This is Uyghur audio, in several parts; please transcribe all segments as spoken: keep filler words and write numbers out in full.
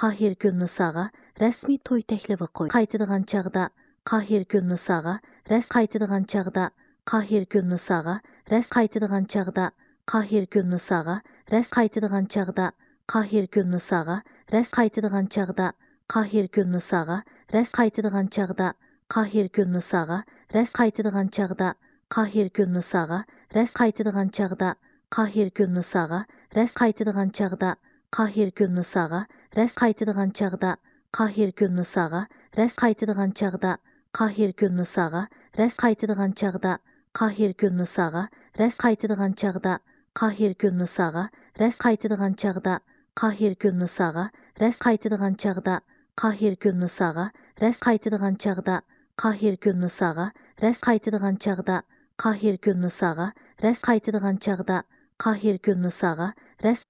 قاھىر گۈلنىساغا رەسمىي توي تەكلىپى قويدى. قايتىدىغان چاغدا قاھىر گۈلنىساغا رەس-، قايتىدىغان چاغدا قاھىر گۈلنىساغا رەس-، قايتىدىغان چاغدا قاھىر گۈلنىساغا رەس-، قايتىدىغان چاغدا قاھىر گۈلنىساغا رەس-، قايتىدىغان چاغدا قاھىر گۈلنىساغا رەس-، قايتىدىغان چاغدا قاھىر گۈلنىساغا رەس-، قايتىدىغان چاغدا قاھىر گۈلنىساغا رەس-، قايتىدىغان چاغدا قاھىر گۈلنىساغا رەس-، قايتىدىغان چاغدا قاھىر گۈلنىساغا رەس-، قايتىدىغان چاغدا قاھىر گۈلنىساغا رەس-، قايتىدىغان چاغدا قاھىر گۈلنىساغا رەس-، قايتىدىغان چاغدا قاھىر گۈلنىساغا رەس-، قايتىدىغان چاغدا قاھىر گۈلنىساغا رەس-، قايتىدىغان چاغدا قاھىر گۈلنىساغا رەس-، قايتىدىغان چاغدا قاھىر گۈلنىساغا رەس-، قايتىدىغان چاغدا قاھىر گۈلنىساغا رەس-، قايتىدىغان چاغدا قاھىر گۈلنىساغا رەس-، قايتىدىغان چاغدا قاھىر گۈلنىساغا رەس-،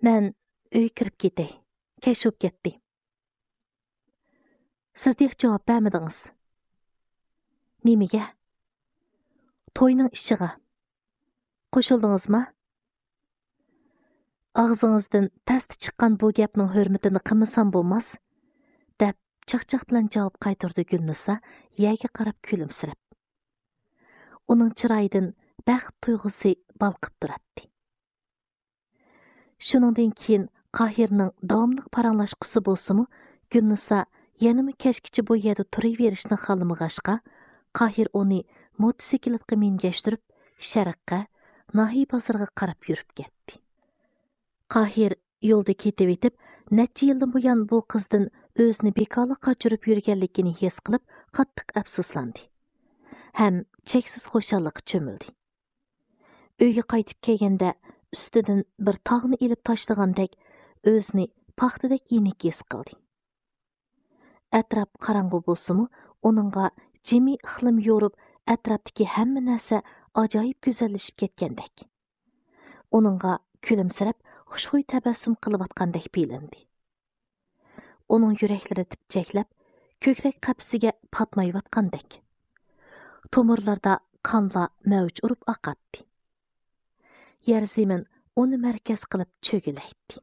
مەن ئۆيگە كىرىپ كېتەي. كەچ بولۇپ كەتتى. سىز تېخى جاۋاب بەرمىدىڭىز. نېمىگە؟ توينىڭ ئىشىغا. قوشۇلدىڭىزما؟ ئاغزىڭىزدىن تەستە چىققان بۇ گەپنىڭ ھۆرمىتىنى قىلمىسام بولماس، دەپ چاقچاق بىلەن جاۋاب قايتۇردى گۈلنىسا يەرگە قاراپ كۈلۈمسىرەپ. ئۇنىڭ چىرايىدىن بەخت تۇيغۇسى بالقىپ تۇراتتى. شۇنىڭدىن كېيىن قاھىرنىڭ داۋاملىق پاراڭلاشقۇسى بولسىمۇ، گۈلنىسا يەنىمۇ كەچكىچە بۇ يەردە تۇرۇۋېرىشنى خالىمىغاچقا، قاھىر ئۇنى موتوسىكلىتقا مىنگەشتۈرۈپ، شەرققە، ناھىيە بازىرىغا قاراپ يۈرۈپ كەتتى. قاھىر يولدا كېتىۋېتىپ، نەچچە يىلدىن بۇيان بۇ قىزدىن ئۆزىنى بىكارلىق قاچۇرۇپ يۈرگەنلىكىنى ھېس قىلىپ، قاتتىق ئەپسۇسلاندى ھەم چەكسىز خۇشاللىققا چۆمۈلدى. ئۆيگە قايتىپ كەلگەندە، ئۈستىدىن بىر تاغنى ئېلىپ تاشلىغاندەك، ئۆزىنى پاختىدەك يېنىك ھېس قىلدى. ئەتراپ قاراڭغۇ بولسىمۇ، ئۇنىڭغا جىمى ئىقلىم يورۇپ، ئەتراپتىكى ھەممە نەرسە ئاجايىپ گۈزەللىشىپ كەتكەندەك. ئۇنىڭغا كۈلۈمسىرەپ، خۇشخۇي تەبەسسۇم قىلىۋاتقاندەك بىلىندى. ئۇنىڭ يۈرەكلىرى تىپچەكلەپ، كۆكرەك قەپىسىگە پاتمايۋاتقاندەك. تومۇرلىرىدا قانلار مەۋج ئۇرۇپ ئاقاتتى. يەر زېمىن ئۇنى مەركەز قىلىپ چۆگىلەيتتى.